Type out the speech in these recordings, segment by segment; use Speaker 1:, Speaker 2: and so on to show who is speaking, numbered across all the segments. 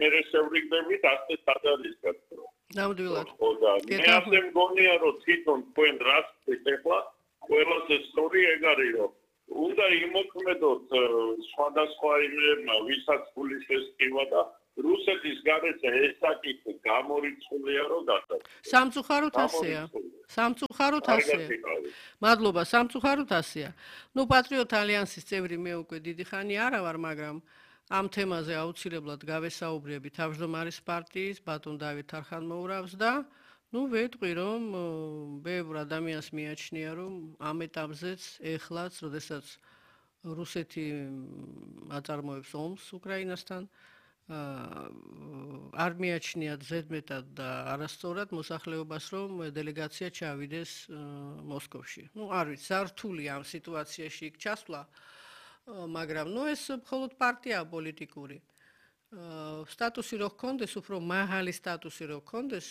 Speaker 1: მე შევრიგდებით ასე სადარისკაც.
Speaker 2: ნამდვილად.
Speaker 1: მე ასე მგონია რომ თვითონ თქვენ რას ეხლა ყველას ეს სწორი ეგ არის რომ უნდა იმოქმედოთ სხვადასხვა იმებმა ვისაც გულის ესკივა და რუსეთის გარეშე ეს საკითხი გამორიცხულია რომ გასაგებია.
Speaker 2: სამწუხაროდ ასეა. სამწუხაროდ ასეა. მადლობა, სამწუხაროდ ასეა. ნუ პატრიოტ ალიანსის წევრი მე უკვე დიდი ხანი არა ვარ, მაგრამ ამ თემაზე აუცილებლად გავესაუბრები თავმჯდომარის პარტიის ბატონ დავით არხანმოურავს და ნუ ვეტყვი რომ ბევრ ადამიანს მიაჩნია რომ ამ ეტაპზეც ეხლაც, როდესაც რუსეთი აწარმოებს ომს უკრაინასთან არ მიაჩნიათ ზედმეტად და არასწორად მოსახლეობას რომ დელეგაცია ჩავიდეს მოსკოვში. ნუ არ ვიცი, სართულია ამ სიტუაციაში იქ ჩასვლა, მაგრამ ნუ ეს მხოლოდ პარტიაა პოლიტიკური. სტატუსი რო ჰქონდეს, უფრო მაღალი სტატუსი რო ჰქონდეს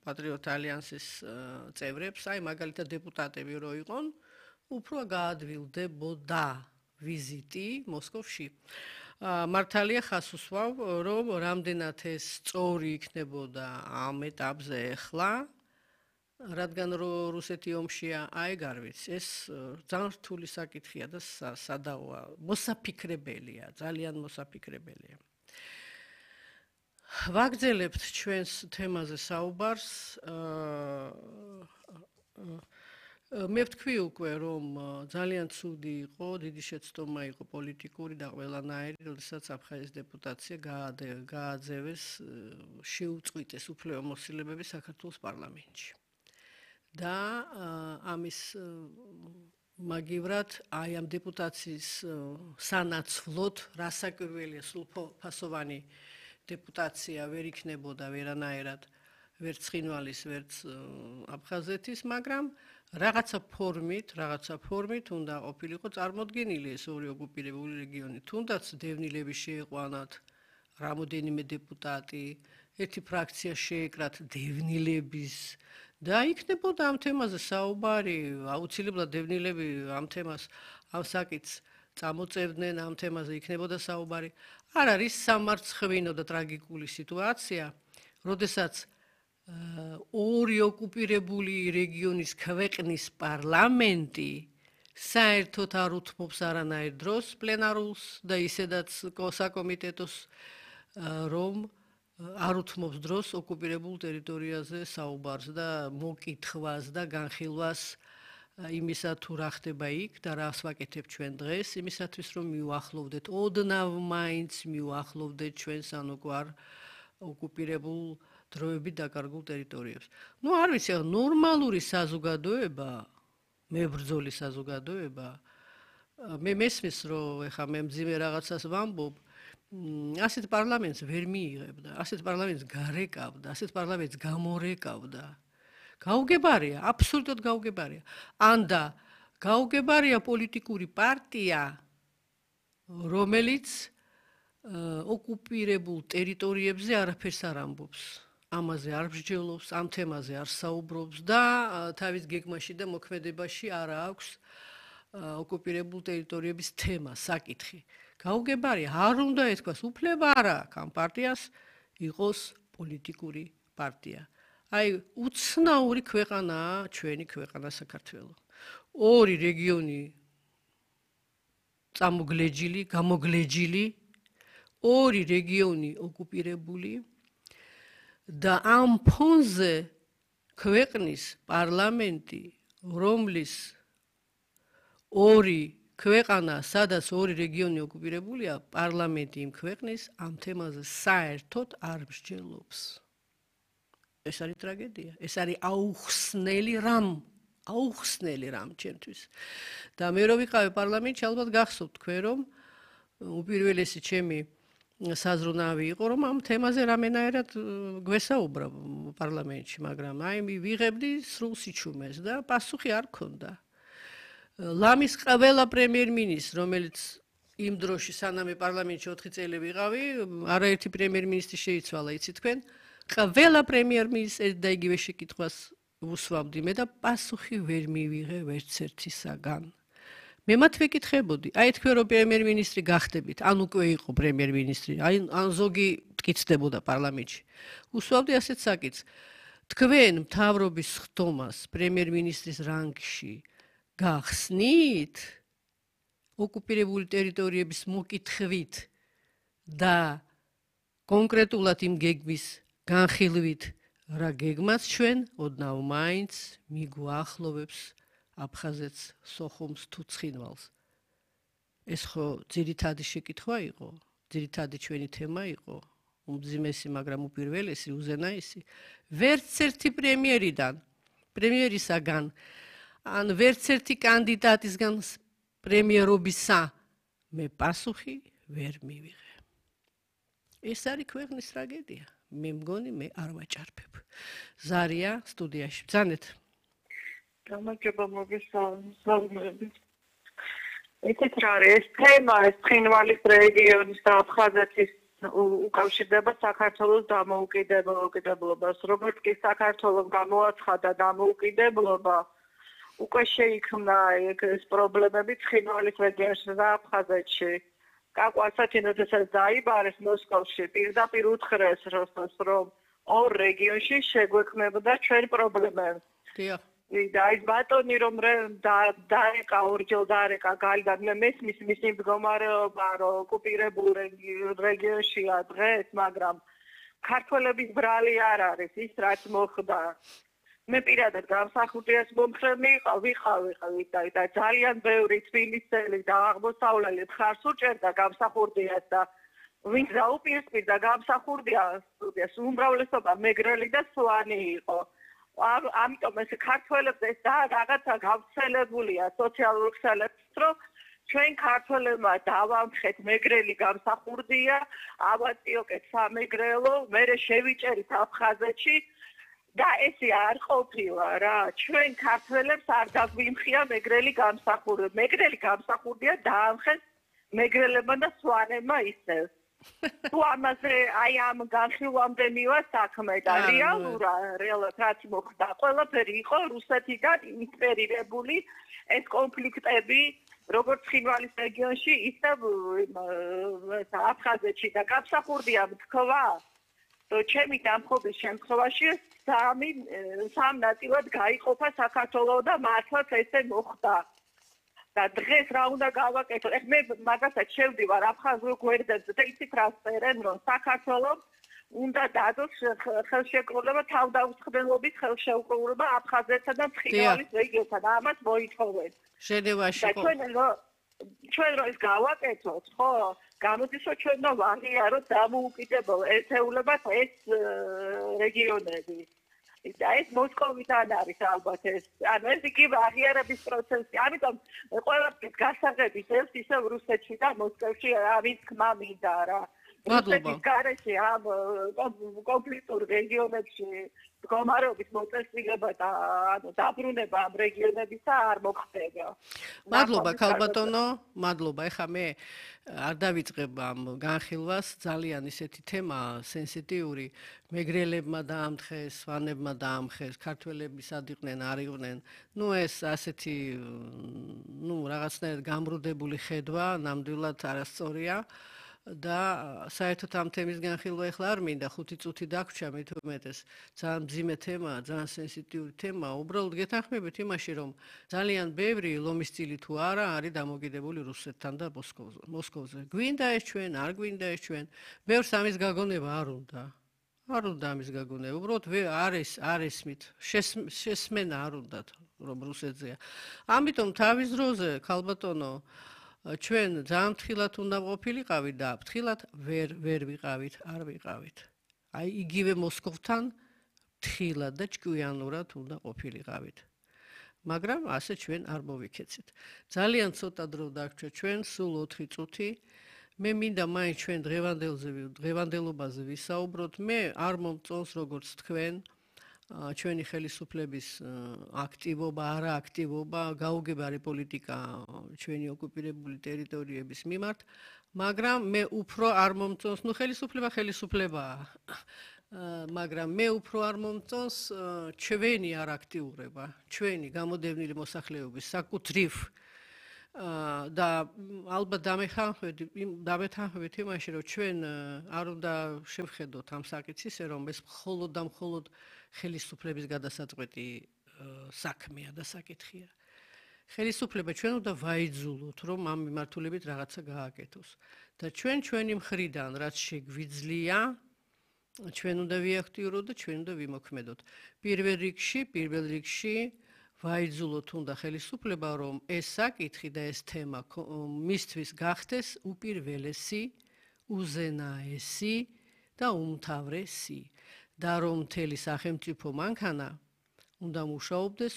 Speaker 2: პატრიოტ ალიანსის წევრებს, აი მაგალითად დეპუტატები რო იყვონ, უფრო გაადვილდებოდა ვიზიტი მოსკოვში. მართალია ხას უსვავ, რომ რამდენად ეს სწორი იქნებოდა ამ ეტაპზე ახლა, რადგან რუსეთი ომშია, აი არ ვიცი, ეს ძალიან რთული საკითხია და სადავოა, მოსაფიქრებელია, ძალიან მოსაფიქრებელია. ვაგრძელებთ ჩვენს თემაზე საუბარს. მე ვთქვი უკვე, რომ ძალიან ცუდი იყო, დიდი შეცდომა იყო პოლიტიკური და ყველანაირი, როდესაც აფხაზეთის დეპუტაცია გააძევეს, შეუწყვიტეს უფლებამოსილებები საქართველოს პარლამენტში. და ამის მაგივრად აი ამ დეპუტაციის სანაცვლოდ რასაკვირველია სრულფასოვანი დეპუტაცია ვერ იქნებოდა ვერანაირად ვერც ცხინვალის ვერც აფხაზეთის, მაგრამ რაღაცა ფორმით უნდა ყოფილიყო წარმოდგენილი ეს ორი ოკუპირებული რეგიონი. თუნდაც დევნილები შეეყვანათ რამოდენიმე დეპუტატი, ერთი ფრაქცია შეეკრათ დევნილების და იქნებოდა ამ თემაზე საუბარი, აუცილებლად დევნილები ამ თემას, ამ საკითხს წამოწევდნენ, ამ თემაზე იქნებოდა საუბარი. არ არის სამარცხვინო და ტრაგიკული სიტუაცია, როდესაც ორი ოკუპირებული რეგიონის ქვეყნის პარლამენტი საერთოდ არ უთმობს არანაირ დროს პლენარულს და ისედაც საკომიტეტოს რომ არ უთმობს დროს ოკუპირებულ ტერიტორიაზე საუბარს და მოკითხვას და განხილვას იმისა თუ რა ხდება იქ და რას ვაკეთებ ჩვენ დღეს, იმისათვის რომ მივახლოვდეთ, ოდნავ მაინც მივახლოვდეთ ჩვენს ანუკვარ ოკუპირებულ დროებით დაკარგულ ტერიტორიებს. ნუ არ ვიცი, ნორმალური საზოგადოება, მებრძოლი საზოგადოება, მე მესმის რომ ეხა მე მძიმე რაღაცას ვამბობ, ასეთ პარლამენტს ვერ მიიღებდა, ასეთ პარლამენტს გარეკავდა, ასეთ პარლამენტს გამორეკავდა. გაუგებარია, აბსოლუტურად გაუგებარია. ანდა გაუგებარია პოლიტიკური პარტია, რომელიც ოკუპირებულ ტერიტორიებზე არაფერს არ ამბობს. ამაზე არ მსჯელობს, ამ თემაზე არ საუბრობს და თავის გეგმაში და მოქმედებაში არ აქვს ოკუპირებულ ტერიტორიების თემა, საკითხი. გაუგებარია, არ უნდა ეთქვას, უფლება არ აქვს ამ პარტიას იყოს პოლიტიკური პარტია. აი, უცნაური ქვეყანაა ჩვენი ქვეყანა საქართველო. ორი რეგიონი წამოგლეჯილი, გამოგლეჯილი, ორი რეგიონი ოკუპირებული და ამ ფონზე ქვეყნის პარლამენტი, რომლის ორი ქვეყანა, სადაც ორი რეგიონი ოკუპირებულია, პარლამენტი იმ ქვეყნის ამ თემაზე საერთოდ არ მსჯელობს. ეს არის ტრაგედია, ეს არის აუხსნელი რამ ჩემთვის. და მე რო ვიყავი პარლამენტში, ალბათ გახსოვთ თქვენ, რომ უპირველესი ჩემი საზრუნავი იყო, რომ ამ თემაზე რამენაერად გვესაუბრა პარლამენტში, მაგრამ აი ვიღებდი სრულ სიჩუმეს და პასუხი არ ქონდა. ლამის ყველა პრემიერ-მინისტრ, რომელიც იმ დროში სანამ პარლამენტში 4 წელი ვიყავი, არაერთი პრემიერ-მინისტრი შეიცვალა, იცით თქვენ? ყველა პრემიერ-მინისტრს და იგივე შეკითხვას უსვამდი მე და პასუხი ვერ მივიღე ვერც ერთისაგან. მე მათ ვეკითხებოდი, აი თქვენ რომ პრემიერ-მინისტრი გახდებით, ან უკვე იყო პრემიერ-მინისტრი, ან ზოგი მტკიცდებოდა პარლამენტში. უსვამდი ასეთ საკითხს. თქვენ მთავრობის ხდომას პრემიერ-მინისტრის რანგში გახსნით ოკუპირებული ტერიტორიების მოკითხვით და კონკრეტულად იმ გეგმის განხილვით, რა გეგმას ჩვენ ოდნავ მაინც მიგვაახლოვებს აფხაზეთს, სოხუმს თუ ცხინვალს. ეს ხო ძირითადი შეკითხვა იყო, ძირითადი ჩვენი თემა იყო, უმძიმესი, მაგრამ უპირველესი, უზენაესი. ვერც ერთი პრემიერისაგან, ან ვერც ერთი კანდიდატისგან პრემიერობისა მე პასუხი ვერ მივიღე. ეს არის ქვეყნის ტრაგედია. მე მგონი მე არ ვაჭარბებ. ზარია სტუდიაში. ბრძანეთ.
Speaker 3: გამარჯობა მოგესალმებით. ეთეთ რა არის ეს თემა, ეს ცხინვალის რეგიონის და აფხაზეთის უკავშირდება საქართველოს დამოუკიდებლობას. როგორც კი საქართველოს გამოაცხადა დამოუკიდებლობა, უკვე შეიქმნა ეს პრობლემები ცხინვალის რეგიონში და აფხაზეთში. კაკვალსაჩინო როდესაც დაიბარეს მოსკოვში, პირდაპირ უთხრეს როსტომს, რომ ორ რეგიონში შეგვექმნებოდა ჩვენ პრობლემებს.
Speaker 2: დიახ.
Speaker 3: და ის ბატონი რომ დარეკა ორჯერ დარეკა გალიდან მესმის მისი მდგომარეობა რომ ოკუპირებულ რეგიონშია დღეს, მაგრამ ქართველების ბრალი არ არის ის რაც მოხდა. მე პირადად გამსახურდიას მომხრენი ვიყავი და ძალიან ბევრი თბილისელი და აღმოსავლელი მხარს უჭერდა გამსახურდიას და ვინც დაუპირისპირდა გამსახურდიას უმრავლესობა მეგრელი და სვანი იყო. ამიტომ ეს ქართველებს ეს და რაღაცა გავრცელებულია სოციალურ ქსელებში, რომ ჩვენ ქართველებმა დავამხეთ მეგრელი გამსახურდია, ავაწიოკეთ სამეგრელო, მერე შევიჭერით აფხაზეთში და ესე არ ყოფილა რა. ჩვენ ქართველებს არ დაგვიმხია მეგრელი გამსახურდია. მეგრელი გამსახურდია დაამხეს მეგრელებმა და სვანებმა ისევ. თუ ამაზე აი ამ განხილვამდე მივა საქმე და რეალურად რაც მოხდა, ყველაფერი იყო რუსეთიდან ინსპირირებული ეს კონფლიქტები, როგორც ცხინვალის რეგიონში, ისე აფხაზეთში და გამსახურდია თქვა, რომ ჩემი დამხობის შემთხვევაში სამ ნაწილად გაიყოფა საქართველო და მართლაც ესე მოხდა. და დღეს რა უნდა გავაკეთო? მე მაგასაც შევდივარ აფხაზურ გვერდებზე და იცით რა წერენ, რომ საქართველოს უნდა დადოს ხელშეკრულება თავდაუწყებლობის ხელშეკრულება აფხაზეთსა და ცხინვალის რეგიონსა და ამას მოითხოვენ.
Speaker 2: ჟენევაში ხო?
Speaker 3: ჩვენ რო ეს გავაკეთოთ, ხო? გამოდის რომ ჩვენ ვაღიაროთ დამოუკიდებელ ერთეულებად ეს რეგიონები. და ეს მოსკოვიდან არის ალბათ ეს. ანუ ეს იგი აღიარების პროცესი. ამიტომ ყველაფრის გასაღების ეს ისევ რუსეთში და მოსკოვში არის თქმა მინდა რა. რუსეთის გარეშე ამ კონფლიქტურ რეგიონებში მდგომარეობის მოწესრიგება და ანუ დაბრუნება ამ რეგიონებისა არ მოხდება.
Speaker 2: მადლობა ქალბატონო, მადლობა. ეხლა მე არ დავიწყებ ამ განხილვას, ძალიან ისეთი თემა სენსიტიური, მეგრელებმა დაამხეს, სვანებმა დაამხეს, ქართველები სად იყვნენ, არ იყვნენ. ეს ასეთი რაღაცნაირად გამრუდებული ხედვა, ნამდვილად არასწორია. და საერთოდ ამ თემის განხილვა ეხლა არ მინდა 5 წუთი დაგვრჩა მით უმეტეს ძალიან მძიმე თემაა, ძალიან სენსიტიური თემაა. უბრალოდ გეთანხმებით იმაში, რომ ძალიან ბევრი ლომისწილი თუ არა არის დამოკიდებული რუსეთთან და მოსკოვზე. გვინდა ეს ჩვენ, არ გვინდა ეს ჩვენ. ბევრს ამის გაგონება არ უნდა. არ უნდა ამის გაგონება. უბრალოდ არ ესმით. შესმენა არ უნდათ, რომ რუსეთზეა. ამიტომ თავის დროზე ქალბატონო ჩვენ ძალიან ფრთხილად უნდა ყოფილიყავით და ფრთხილად ვერ ვიყავით, არ ვიყავით. აი იგივე მოსკოვთან ფრთხილად და ჭკვიანურად უნდა ყოფილიყავით. მაგრამ ასე ჩვენ არ მოვიქეცეთ. ძალიან ცოტა დრო დაგვრჩა ჩვენ, სულ 4 წუთი. მე მინდა მაინც ჩვენ დღევანდელობაზე ვისაუბროთ. მე არ მომწონს როგორც თქვენ ჩვენი ხელისუფლების აქტივობა, არააქტივობა, გაუგებარი პოლიტიკა ჩვენი ოკუპირებული ტერიტორიების მიმართ, მაგრამ მე უფრო არ მომწონს, ხელისუფლებაა, მაგრამ მე უფრო არ მომწონს ჩვენი არაქტიურობა, ჩვენი გამოდევნილი მოსახლეობის საკუთრივ და ალბათ დამეთანხმებით იმაში, რომ ჩვენ არ უნდა შევხედოთ ამ საკითხს, რომ ეს მხოლოდ და მხოლოდ ხელისუფლების გადასაწყვეტი საქმეა და საკითხია. ხელისუფლება ჩვენ უნდა ვაიძულოთ, რომ ამ მიმართულებით რაღაცა გააკეთოს. და ჩვენი მხრიდან რაც შეგვიძლია, ჩვენ უნდა ვიაქტიუროთ და ჩვენ უნდა ვიმოქმედოთ. პირველ რიგში ვაიძულოთ უნდა ხელისუფლება, რომ ეს საკითხი და ეს თემა მისთვის გახდეს უპირველესი, უზენაესი და უმთავრესი და რომ მთელი სახელმწიფო მანქანა უნდა მუშაობდეს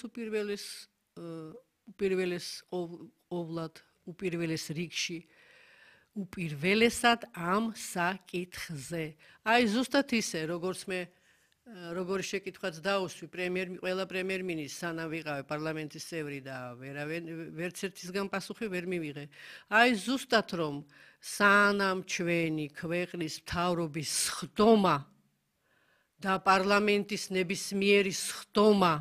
Speaker 2: უპირველეს რიგში უპირველესად ამ საკითხზე. აი ზუსტად ისე, როგორ შეკითხვაც დაუსვი ყველა პრემიერ-მინისტრს სანამ ვიყავი პარლამენტის წევრი და ვერც ერთისგან პასუხი ვერ მივიღე. აი ზუსტად რომ სანამ ჩვენი ქვეყნის მთავრობის სხდომა და პარლამენტის ნებისმიერი სხდომა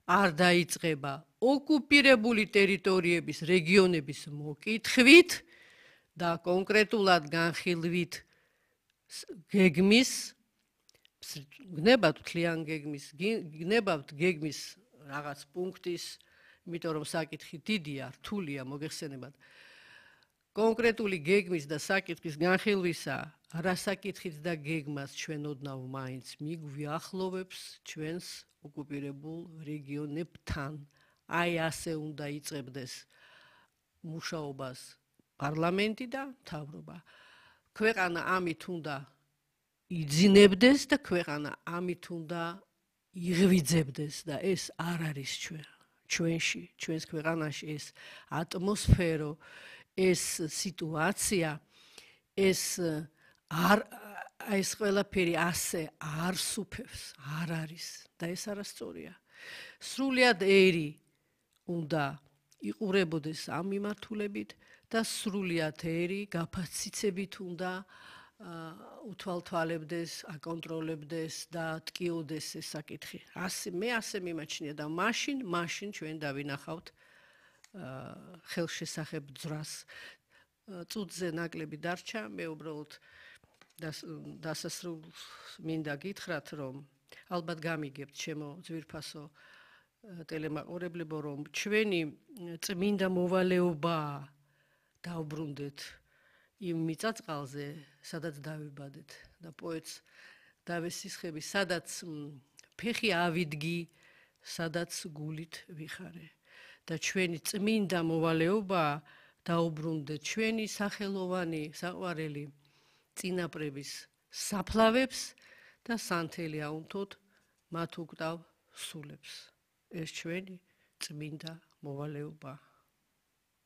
Speaker 2: არ დაიწყება ოკუპირებული ტერიტორიების რეგიონების მოკითხვით და კონკრეტულად განხილვით გეგმის გნებავთ თლიან გეგმის გნებავთ გეგმის რაღაც პუნქტის, იმიტომ რომ საკითხი დიდია, რთულია, მოგეხსენებათ. კონკრეტული გეგმის და საკითხის განხილვისა, რა საკითხიც და გეგმას ჩვენ ოდნავ მაინც მიგვიახლოვებს ჩვენს ოკუპირებულ რეგიონებთან. აი ასე უნდა იწყებდეს მუშაობას პარლამენტი და მთავრობა. ქვეყანა ამით უნდა იძინებდეს და ქვეყანა ამით უნდა იღვიძებდეს და ეს არ არის ჩვენს ქვეყანაში ეს ატმოსფერო, ეს სიტუაცია, ეს ყველაფერი ასე არ სუფევს, არ არის და ეს არასწორია. სრულიად ერი უნდა იყურებოდეს ამ მიმართულებით და სრულიად ერი გაფაციცებით უნდა უთვალთვალებდეს, აკონტროლებდეს და ტკიოდეს ეს საკითხი. მე ასე მიმაჩნია და მაშინ ჩვენ დავინახავთ ხელშესახებ ძრას. წუთზე ნაკლები დარჩა, მე უბრალოდ დასასრულს მინდა გითხრათ, რომ ალბათ გამიგებთ ჩემო ძვირფასო ტელემაყურებლებო, რომ ჩვენი წმინდა მოვალეობა დაუბრუნდეთ იმ მიწაწყალზე, სადაც დავიბადეთ და პოეტს დავესისხები, სადაც ფეხი ავიდგი, სადაც გულით ვიხარე და ჩვენი წმინდა მოვალეობა დაუბრუნდეთ ჩვენი სახელოვანი საყვარელი წინაპრების საფლავებს და სანთელი აუნთოთ მათ უკტავ სულებს. ეს ჩვენი წმინდა მოვალეობა.